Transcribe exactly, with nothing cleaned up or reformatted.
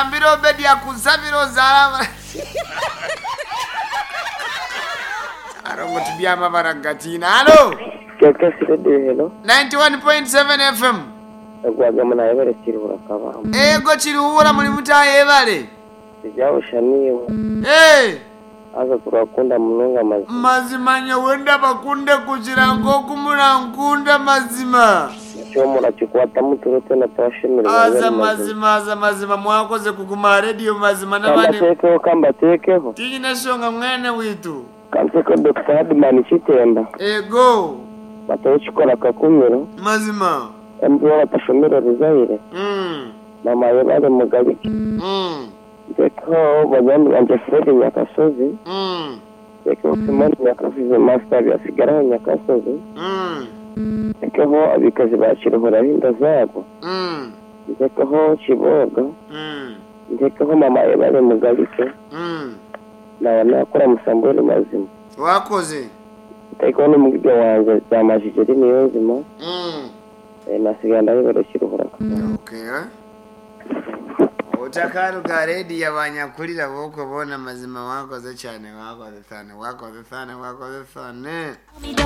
Ngambira Obedi akusabira ozaala. Arongo tubyama baragatina. Halo. Kekesi Radio hello. ninety-one point seven F M. Egwaga munayebere Kiruhura Kabamba. Ego Kiruhura, muri mutayebale. Ijawushaniwe. Eh, Aza turakunda munonga mazima. Mazima nyowe ndabakunde kugira ngo murankunda mazima. Icyo murakikwata muturute na twashemererwa. Aza mazima, aza mazima, mwakoze kuguma radio mazima n'abandi. Kambatekeho, kambatekeho. Tinyine shonga mwene witu. Kanseko Doctor Hadman Kitemba. Ego. Batawukikora kakumiro. Mazima. M B batashomera Ruzaire. Mm. Mama yebale Mugalike. Mm. Ntekeho bagandi banje Fred Nyakasozi. Mm. Ntekeho Simoni Nyakasozi, Master Byasigaraho Nyakasozi. Mm. Ntekeho abikazi ba Kiruhura b'inda zabo. Mm. Ntekeho Kiboga. Mm. Ntekeho mama yebale Mugalike. Mm. Nawe nakora musambweni mazima. Wakoze. Ntekeho n'umugiga wanje Byamajigeri niyo nzima. Mm. Eh, nasigaye ndabibere Kiruhura. Okay. Utakaruga redi abanyakulira boko bona mazima, wakoze cyane, wakoze cyane, wakoze cyane, wakoze cyane.